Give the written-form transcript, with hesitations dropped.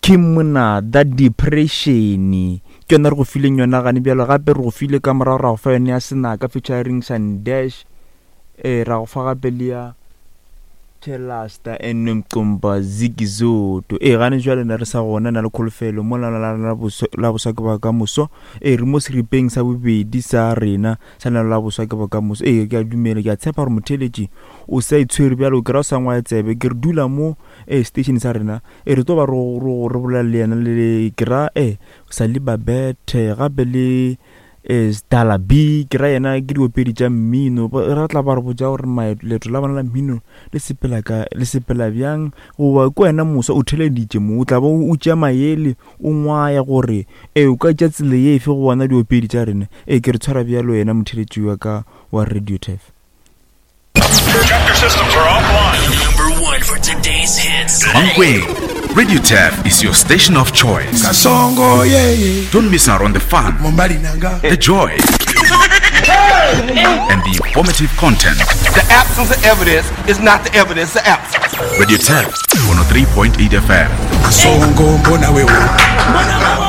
Kim Monada Depression ke yona re go fileng yona gane bjalo gape re go file ka morago ra go fa yone ya Senaka featuring Sandash eh ra go fa gape le ya Telasta and Mcumba Zikizoto ee gane jwale na re sa gona na le kholofelo mo la la la la boswa ke ba ka moso ee re mo seripeng sa bobedi sa rena sa lena la boswa ke bokamoso ee ke a dumela ke a tshepa gore motheeletši o sa itshwere bjalo ke ra o sa ngwaya tsebe ke re dula mo ee station sa rena ee re tlo ba re bolela le yena le ke ra ee sa le babethe gape le ee Stala B ke ra yena ke diopedi tša mmino ra tla ba re botša gore leeto la bona la mmino le sepela ka le sepela bjang goba ke wena moswa o theleditše mo o tla ba o tšea maele o ngwaya gore ee o ka tša tsela ye efe go bona diopedi tša rena ee ke re tshwara bjalo yena motheletši wa ka wa radio tef Chapter systems are offline. Number one for today's hits. Mankweng, Radio Tap is your station of choice. Kasongo, yeah, yeah. Don't miss out on the fun, Mombali nanga. the joy, and the informative content. The absence of evidence is not the evidence of absence. Radio Tap 103.8 FM. Kasongo, mbona wewe.